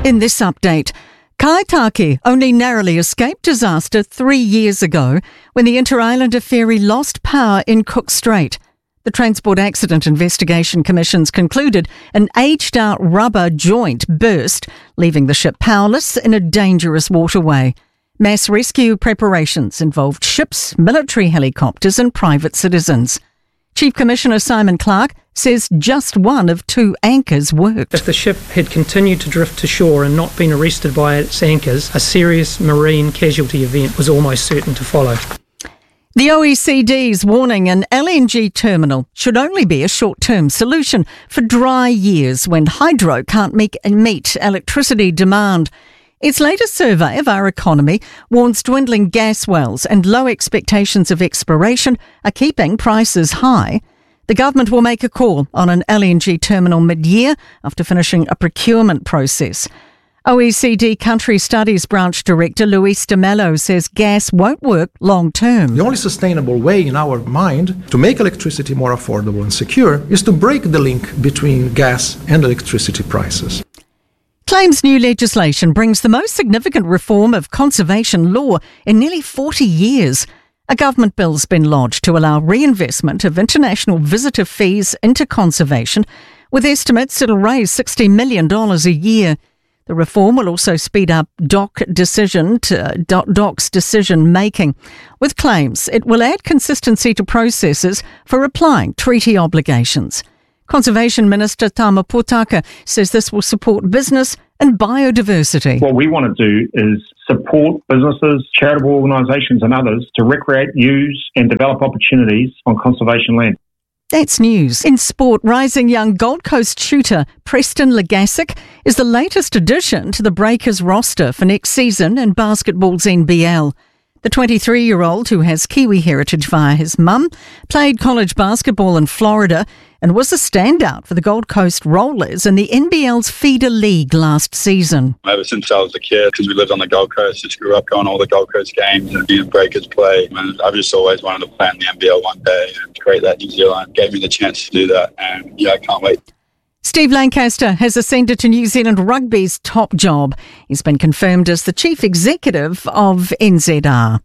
In this update, Kaitake only narrowly escaped disaster 3 years ago when the Interislander ferry lost power in Cook Strait. The Transport Accident Investigation Commission's concluded an aged-out rubber joint burst, leaving the ship powerless in a dangerous waterway. Mass rescue preparations involved ships, military helicopters and private citizens. Chief Commissioner Simon Clark says just one of two anchors worked. If the ship had continued to drift to shore and not been arrested by its anchors, a serious marine casualty event was almost certain to follow. The OECD's warning an LNG terminal should only be a short-term solution for dry years when hydro can't meet electricity demand. Its latest survey of our economy warns dwindling gas wells and low expectations of exploration are keeping prices high. The government will make a call on an LNG terminal mid-year after finishing a procurement process. OECD Country Studies Branch Director Luis de Mello says gas won't work long term. The only sustainable way in our mind to make electricity more affordable and secure is to break the link between gas and electricity prices. Claims new legislation brings the most significant reform of conservation law in nearly 40 years. A government bill's been lodged to allow reinvestment of international visitor fees into conservation, with estimates it'll raise $60 million a year. The reform will also speed up DOC's decision making. With claims, it will add consistency to processes for applying treaty obligations. Conservation Minister Tama Potaka says this will support business and biodiversity. What we want to do is support businesses, charitable organisations and others to recreate, use and develop opportunities on conservation land. That's news. In sport, rising young Gold Coast shooter Preston Legassic is the latest addition to the Breakers roster for next season in basketball's NBL. The 23-year-old, who has Kiwi heritage via his mum, played college basketball in Florida and was a standout for the Gold Coast Rollers in the NBL's feeder league last season. Ever since I was a kid, because we lived on the Gold Coast, just grew up going to all the Gold Coast games and being Breakers play. And I've just always wanted to play in the NBL one day, and it's great that New Zealand gave me the chance to do that. And yeah, I can't wait. Steve Lancaster has ascended to New Zealand Rugby's top job. He's been confirmed as the chief executive of NZR.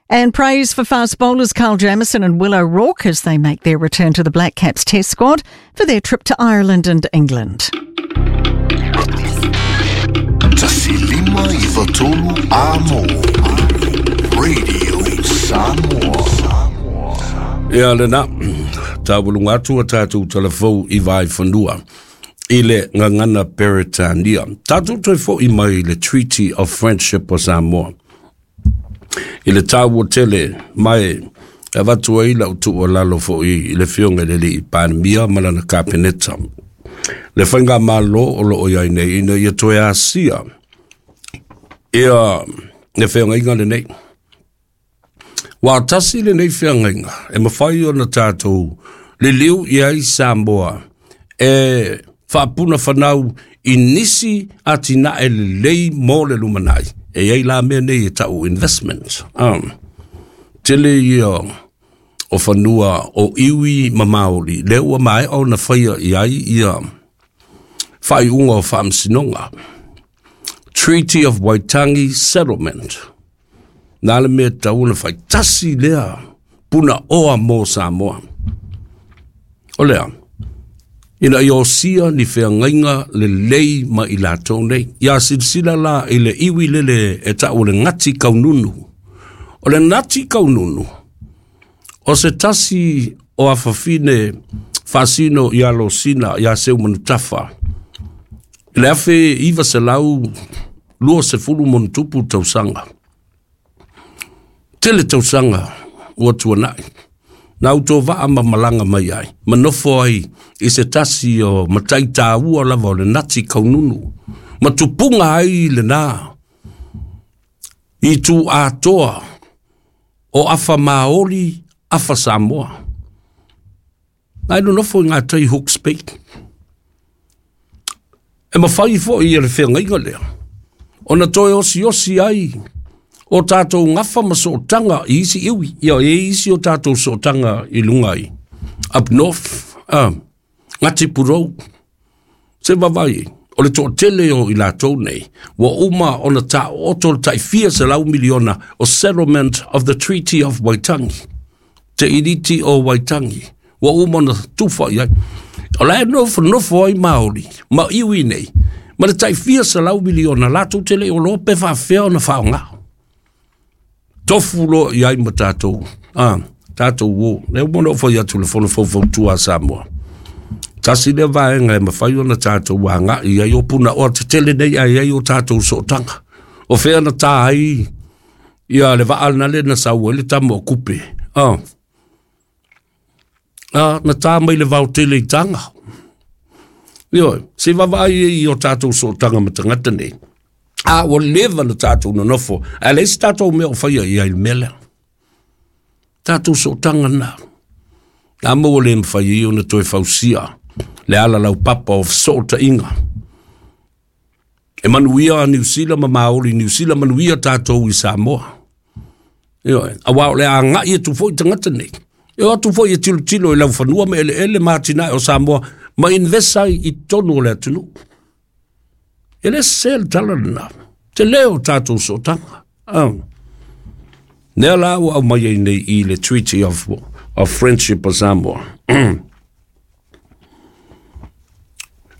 And praise for fast bowlers Carl Jamieson and Will O'Rourke as they make their return to the Black Caps Test squad for their trip to Ireland and England. Radio Samoa. Ia lena, tauluga atu a tatou talafou i Vaefanua i le gagana Peretania. Tatou toe fo'i mai i le Treaty of Friendship o Samoa. I le taua tele ma e avatu ai lau tuualalo fo'i i le Afioga i le Alii Palemia ma lana Kapeneta, le faigamalo o loo i ai nei, ina ia toe asia ia le feagaiga lenei. Ua tasi lenei feagaiga e mafai ona tatou liliu i ai Samoa e faapuna fanau i nisi atinae lelei mo le lumanai. E i ai la mea nei e ta'u investment. Tele ia o fanua o iwi ma Maoli, lea ua maea ona faia i ai ia faaiuga o faamasinoga. Treaty of Waitangi Settlement. Na le mea tatau ona fai tasi lea puna oa mo Samoa. O lea, ina ia osia ni feagaiga lelei ma i latou nei. Ia silasila la i le iwi lele e ta'u o le Ngati Kaununu. O le Ngati Kaununu, o se tasi o afafine faasino ia Losina ia Seumanutafa. I le 1920+ tausaga. Tele tausaga ua tuanai. Na utovaa ma malaga mai ai, ma nofo ai i se tasi o matai tāua lava o le Ngati Kaununu. Ma tupuga ai lena i tu atoa o afa Maoli, afa Samoa. Na e nonofo i ngā tai Hawke's Bay. E mafai fo'i e le feagaiga lea ona toe osiosi ai o tatou gafa ma sootaga i isi iwi. Ia e isi o tatou sootaga i luga i up north, Ngati Purou, se vavai. O le toʻatele o i latou nei, ua uma ona taooto le tai fia selau miliona o settlement of the Treaty of Waitangi, Te Iriti o Waitangi, ua uma ona tufa i ai. O la e nofonofo ai Māori ma iwi nei, ma le tai fia selau miliona latou te le i oloa pe faafefea ona faaaoga. Tofu loa i ai ma tatou, a, tatou o. Lea ua ona ou fai atu le Fono Faufautua a Samoa. Tasi lea vaega e mafai ona tatou agai i ai o punaoa tetele nei ae i ai o tatou sootaga. O fea na tā ai ia le vaa lena le na sau ai le tama o Kupe. Ah. Ah, na tā mai le vao tele i Taga. Ioe, se i vaavaai ai i o tatou sootaga ma tagata nei. A ua leva na tatou nonofo, ae leai se tatou mea o faia i ai i le mea lea. Tatou sootaga na. Na maua le mafai ai ona toe fausia le ala laupapa o fesootaiga. E manuia a Niu Sila ma Maori Niu Sila, manuia tatou i Samoa. Ioe, aua o le agai atu foi tagata nei. E o atu foi e tilotilo i laufanua ma eleele ma atinae o Samoa ma invest ai i totonu o le atunuu. E le sese le tala lena. Tele o tatou sootaga. Oh. Lea la ua aumai ai nei i le Treaty of Friendship of Samoa.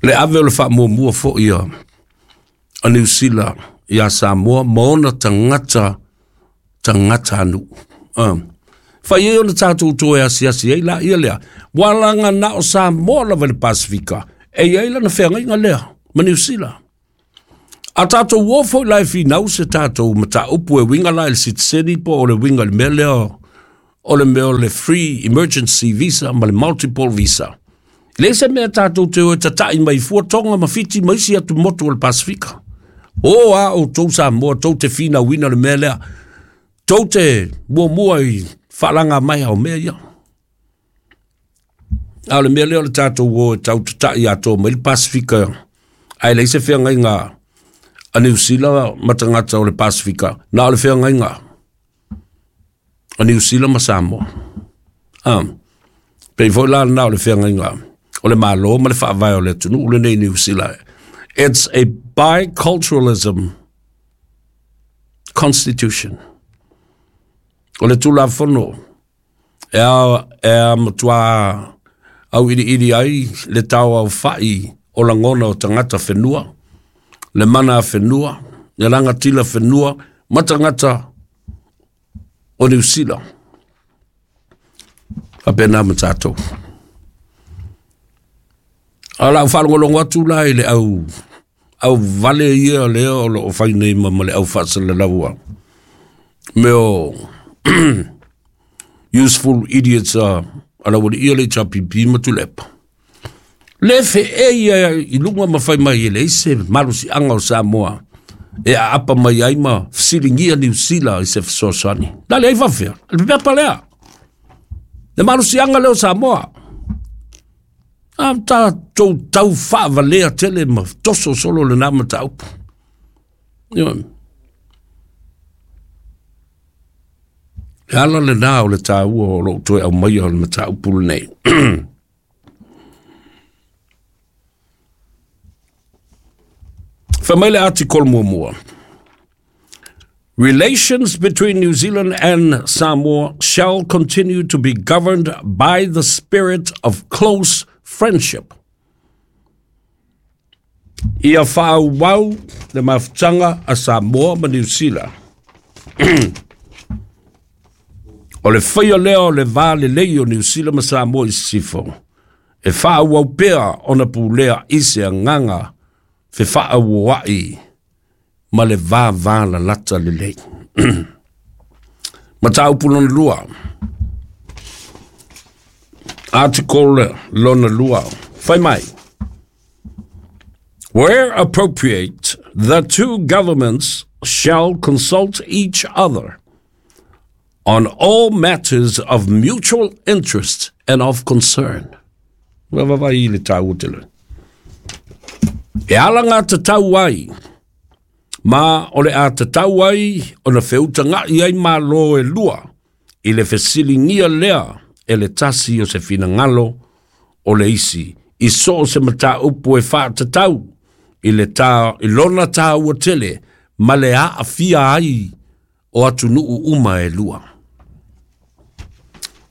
Le ave o le faamuamua foi a Niu Sila iā Samoa ma ona tagata tagata nuu. Fai ai ona tatou toe asiasi ai laia lea, ua laga na o Samoa lava i le Pasefika e i ai lana feagaiga lea ma Niu Sila. A tatou o foi la e finau se tatou mataupu e uiga la i le sitiseni po o le uiga i le mea lea o le mea o le free emergency visa ma le multiple visa. E leai se mea tatou te o e tata'i mai fua Tonga ma Fiti ma isi atu motu o le Pasefika. O a outou Samoa tou te finauina le mea lea, tou te muamua i faalaga mai o mea ia. A o le mea lea o le tatou o e tau tata'i atoa mai le Pasefika, ae leai se feagaiga a Niu Sila ma tagata o le Pasefika, na o le feagaiga a Niu Sila ma Samoa. Ah, pei foi la lena o le feagaiga o le Malo ma le faavae o le atunuu lenei Niu Sila. It's a biculturalism constitution. O le Tulafono e a, e a matua auiliili ai le tauaofa'i o lagona o tagata whenua, le mana a whenua, le rangatira whenua, ma tagata o Niu Sila. Faapena ma tatou. A o lau faalogologo atu la i le au au vale ia lea o lo o fai nei ma, ma le au faasalalaua mea o useful idiots a, a laualii o le HRPP ma Tuilaepa. Le feʻe ia i luga ma fai mai e leai se malosiaga o Samoa e aapa mai ai ma fesiligia Niu Sila i se fesoasoani. Na leai faafefea, le pepa lea. Le malosiaga lea o Samoa. A tatou tau faavalea tele ma toso solo lena mataupu. Ioe. Le ala lena o le taua o lou toe aumaia o le mataupu lenei. Fai mai le article muamua. Relations between New Zealand and Samoa shall continue to be governed by the spirit of close friendship. Ia faaauau le mafutaga a Samoa ma Niu Sila. O le faia lea o le va lelei o Niu Sila ma Samoa i Sisifo, e faaauau pea ona pulea i se agaga fefaauoa'i ma le vavalalata lelei. Mataupu lona lua. Article lona lua. Fai mai. Where appropriate, the two governments shall consult each other on all matters of mutual interest and of concern. Ua vavaai i le tāua tele. E ala ngā tatau ai, ma o le a tatau ai ona feutaga'i ai Malo e lua i le fesiligia lea e le tasi o se finagalo o le isi i so o se mataupu e faatatau i le tā, i lona tāua tele ma le aafia ai o atunuu uma e lua.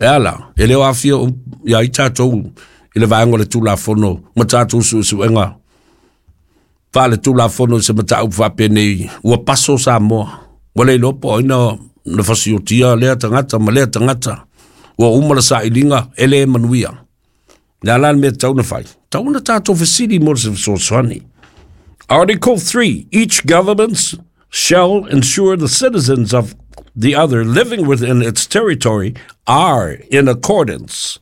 E ala, e le o aafia ia i tātou i le vaega o le Tulafono ma tātou suesuega faale-Tulafono i se mataupu faapenei ua paso Samoa. Ua le iloa po o ai na fasiotia lea tagata ma lea tagata. Ua uma le sailiga e le manuia. Le a la le mea tatau ona fai? Tatau ona tātou fesili mo se fesoasoani. Article 3. Each government shall ensure the citizens of the other living within its territory are in accordance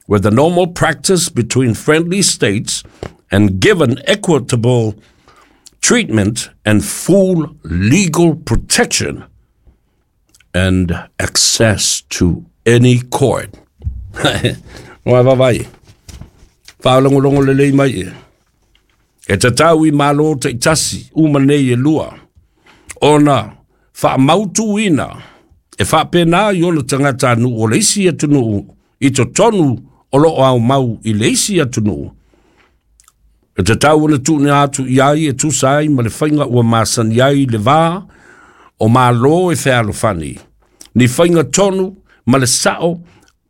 with the normal practice between friendly states and given equitable treatment and full legal protection and access to any court. Ua vaavaai, faalogologo lelei mai e. E tatau i Malo taitasi uma nei e lua ona faamautuina e faapena i ona tagatanuu o le isi atunuu i totonu o loo aumau i le isi atunuu. E tatau ona tuuina atu i ai e tusa ai ma le faiga ua masani ai le va o Malo e fealofani, ni faiga tonu ma le sao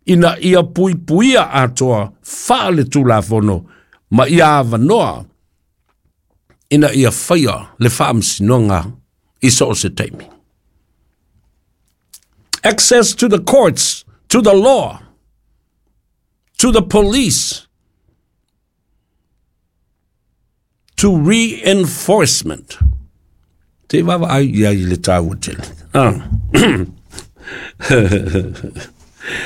ina ia puipuia atoa faale-Tulafono ma ia avanoa ina ia faia le faamasinoga i so o se taimi. Access to the courts, to the law, to the police, to reinforcement. Te vaavaai i ai i le tāua tele. Ah.